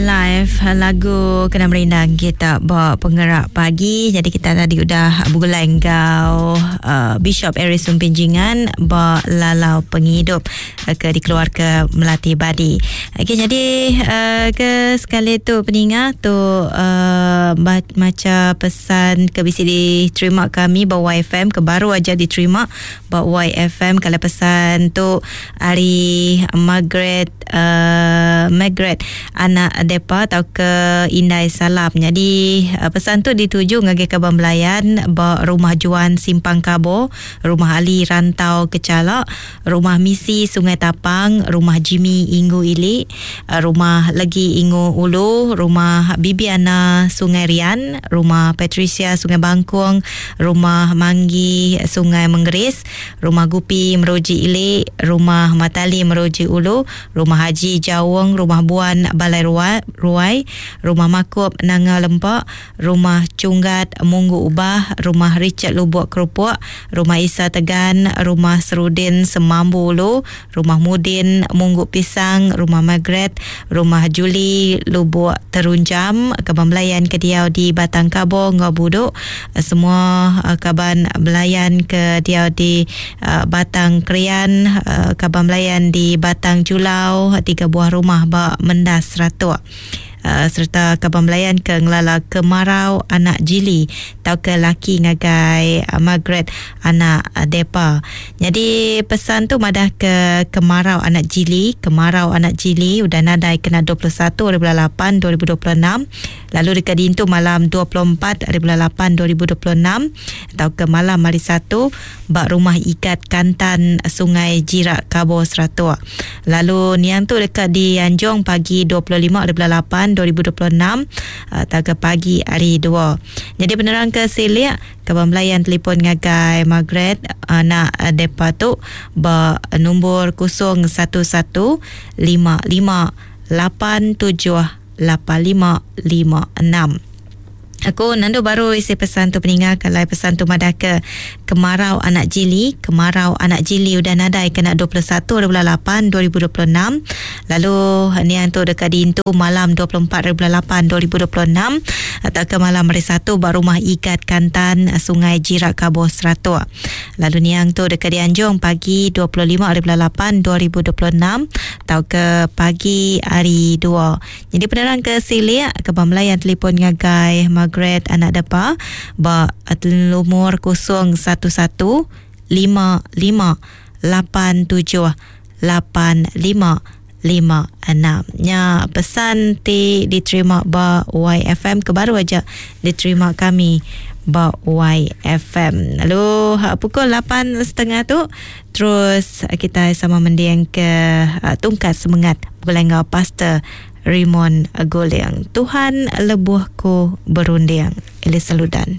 Life lagu kena merindang kita ba pengerak pagi. Jadi kita tadi udah begulai enggau uh, Bishop Aris Sumpin Jingan ba Lalau Pengidup uh, ke dikeluar ke Melati Badi. Okey jadi uh, ke sekali tu peninga tu uh, macha pesan ke bisi diterima kami ba YFM ke baru aja diterima ba YFM kalau pesan tu ari Margaret uh, Margaret anak Depa tauka Indai Salam. Nyadi uh, pesan tu dituju ngagai kaban belayan ba Rumah Juan Simpang Kabo, Rumah Ali Rantau Kecala, Rumah Misi Sungai Tapang, Rumah Jimmy Inggu Ili, uh, Rumah Legi Ingu Ulu, Rumah Bibiana Sungai Rian, Rumah Patricia Sungai Bangkung, Rumah Manggi Sungai Menggeris, Rumah Gupi Meruji Ili, Rumah Matali Meruji Ulu, Rumah Haji Jaung, Rumah Buan Balai Ruai, Rumah Makup Nanga Lempa, Rumah Chunggat Munggu Ubah, Rumah Richard Lubuk Kerupuk, Rumah Isa Tegan, Rumah Serudin Semambu Ulu, Rumah Mudin Munggu Pisang, Rumah Margaret, Rumah Julie Lubuk Terunjam, kaban belayan ke diau di Batang Kabo enggau Buduk, semua kaban belayan ke diau di Batang Krian, kaban belayan di Batang Julau, tiga buah rumah ba Mendas Seratok. Sereta kaban belayan ke ngelala Kemarau anak Jili tauka laki ngagai Margaret anak Depa. Nyadi pesan tu madah ke Kemarau anak Jili, Kemarau anak Jili udah nadai kena 21 hari bulan 8 2026 lalu deka diintu malam 24 hari bulan 8 2026 tauka malam hari Satu ba Rumah Igat Kantan Sungai Jirak Kabo Seratok. Lalu niang tu deka dianjung pagi 25 hari bulan 8 2026 tauka pagi hari 2. Nyadi penerang ke silik kaban belayan telefon ngagai Margaret anak depa tu ba nombor 011 55 87 8556. Aku nandu baru isi pesan tu peninga kalai pesan tu madah ke kemarau anak jili kemarau anak jili udah nadai kena 21 hari bulan 8 2026 lalu niang tu deka diintu malam 24 hari bulan 8 2026 atau ke malam hari Satu ba rumah Igat Kantan Sungai Jirak Kabo Seratok lalu niang tu deka dianjung pagi 25 hari bulan 8 2026 tauka pagi hari 2. Nyadi penerang ke silik ke ba melayan telefon ngagai Margaret anak depa ba lumur 011 55 87 85 56. Nya pesan ti diterima ba YFM ke baru aja diterima kami ba YFM. Lalu pukul 8.30 tu Terus kitai sama mending ke tungkat semengat begulai enggau Pastor Raymond Guling. Tuhan lebuh ku berunding. Elisa Ludan.